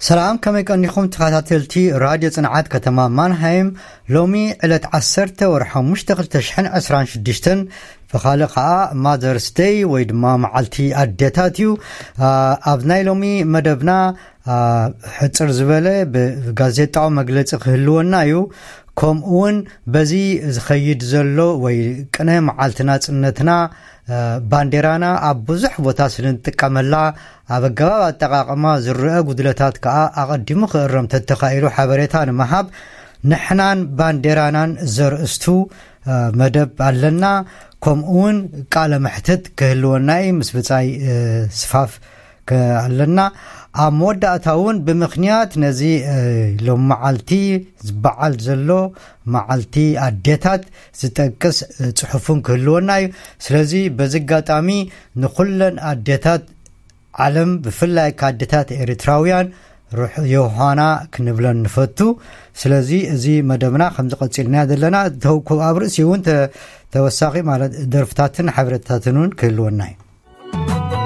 ሰላም፣ ከመይ ቀኒኹም ተኸታተልቲ ራድዮ ጽንዓት ከተማ ማንሃይም? ሎሚ ዕለት ዓሰርተ ወርሒ ሓሙሽተ ክልተ ሽሕን ዕስራን ሽዱሽተን፣ ብኻልእ ኸኣ ማዘርስ ደይ ወይ ድማ መዓልቲ ኣዴታት እዩ። ኣ፣ ኣብ ናይ ሎሚ መደብና፣ ኣ፣ ሕጽር ዝበለ ብጋዜጣዊ መግለጺ ክህልወና እዩ። ከምኡ እውን በዚ ዝኸይድ ዘሎ ወይ ቅነ መዓልቲ ናጽነትና፣ እ፣ ባንዴራና ኣብ ብዙሕ ቦታ ስለ እንጥቀመላ፣ ኣብ ኣገባብ ኣጠቓቕማ ዝረአ ጉድለታት ከኣ ኣቐዲሙ ክእረም ተተኻኢሉ ሓበሬታ ንምሃብ ንሕናን ባንዴራናን ዘርእስቱ፣ እ፣ መደብ ኣለና። ከምኡ እውን ቃለ መሕትት ክህልወና እዩ ምስ ብጻይ፣ እ፣ ስፋፍ ከ-፣ ኣለና። ኣብ መወዳእታ እውን ብምኽንያት ነዚ፣ እ፣ ሎም መዓልቲ ዝበዓል ዘሎ መዓልቲ ኣዴታት ዝጠቅስ፣ እ፣ ጽሑፍን ክህልወና እዩ። ስለዚ በዚ ኣጋጣሚ ንኹለን ኣዴታት ዓለም፣ ብፍላይ ከኣ ኣዴታት ኤርትራውያን ርሑ-፣ ዮሃና ክንብለን ንፈቱ። ስለዚ እዚ መደብና ከምዚ ቀጺልና ዘለና፣ ተው-፣ ኣብ ርእሲ እውን ተ-፣ ተወሳኺ ማለት ደርፍታትን ሓበሬታታትን እውን ክህልወና እዩ።